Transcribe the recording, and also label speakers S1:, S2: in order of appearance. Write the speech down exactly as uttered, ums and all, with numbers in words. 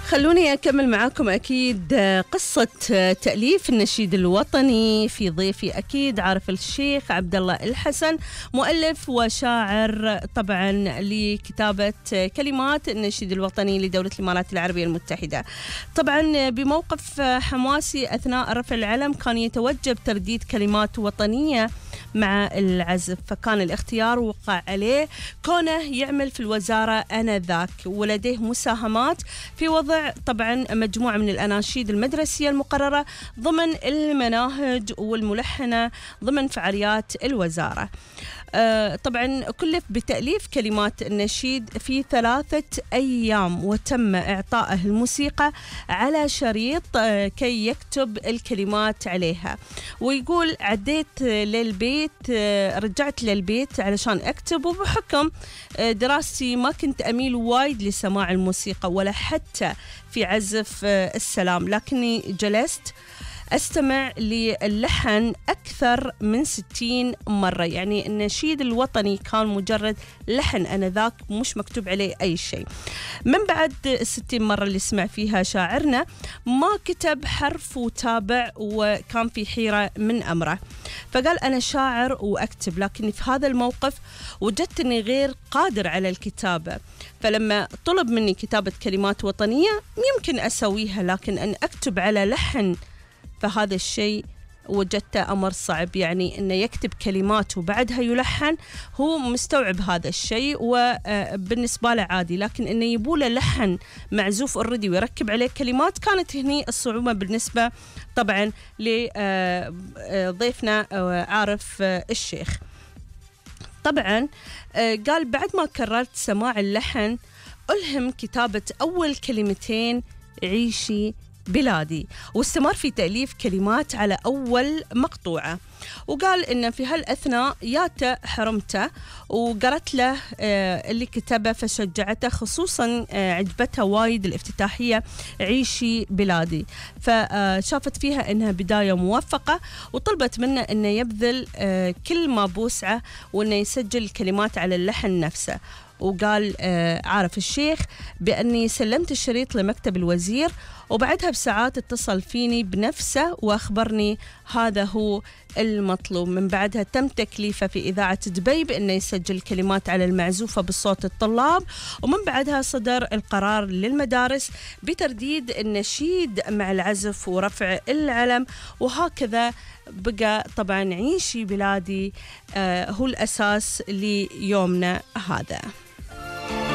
S1: خلوني أكمل معاكم أكيد قصة تأليف النشيد الوطني. في ضيفي أكيد عارف الشيخ عبد الله الحسن، مؤلف وشاعر طبعا لكتابة كلمات النشيد الوطني لدولة الإمارات العربية المتحدة. طبعا بموقف حماسي أثناء رفع العلم كان يتوجب ترديد كلمات وطنية مع العزف، فكان الاختيار وقع عليه كونه يعمل في الوزارة آنذاك، ولديه مساهمات في وضع طبعا مجموعة من الأناشيد المدرسية المقررة ضمن المناهج والملحنة ضمن فعاليات الوزارة. آه طبعا كلف بتأليف كلمات النشيد في ثلاثة أيام، وتم إعطائه الموسيقى على شريط آه كي يكتب الكلمات عليها. ويقول عديت للبيت، آه رجعت للبيت علشان أكتب، وبحكم آه دراستي ما كنت أميل وايد لسماع الموسيقى ولا حتى في عزف آه السلام، لكني جلست أستمع للحن أكثر من ستين مرة. يعني النشيد الوطني كان مجرد لحن أنذاك، مش مكتوب عليه أي شيء. من بعد الستين مرة اللي سمع فيها شاعرنا ما كتب حرف وتابع، وكان في حيرة من أمره، فقال أنا شاعر وأكتب، لكن في هذا الموقف وجدت أني غير قادر على الكتابة. فلما طلب مني كتابة كلمات وطنية يمكن أسويها، لكن أن أكتب على لحن فهذا الشيء وجدته أمر صعب. يعني أنه يكتب كلمات وبعدها يلحن، هو مستوعب هذا الشيء وبالنسبة له عادي، لكن أنه يبوله لحن معزوف أوريدي ويركب عليه كلمات، كانت هني الصعوبة بالنسبة طبعا لضيفنا عارف الشيخ. طبعا قال بعد ما كررت سماع اللحن ألهم كتابة أول كلمتين عيشي بلادي، واستمر في تأليف كلمات على أول مقطوعة. وقال إن في هالأثناء ياته حرمته وقرأت له اللي كتبه فشجعته، خصوصا عجبتها وايد الافتتاحية عيشي بلادي، فشافت فيها إنها بداية موفقة، وطلبت منه إنه يبذل كل ما بوسعه وإنه يسجل الكلمات على اللحن نفسه. وقال عارف الشيخ بأني سلمت الشريط لمكتب الوزير، وبعدها بساعات اتصل فيني بنفسه وأخبرني هذا هو المطلوب. من بعدها تم تكليفه في إذاعة دبي بأنه يسجل كلمات على المعزوفة بصوت الطلاب، ومن بعدها صدر القرار للمدارس بترديد النشيد مع العزف ورفع العلم، وهكذا بقى طبعا عيشي بلادي آه هو الأساس ليومنا هذا.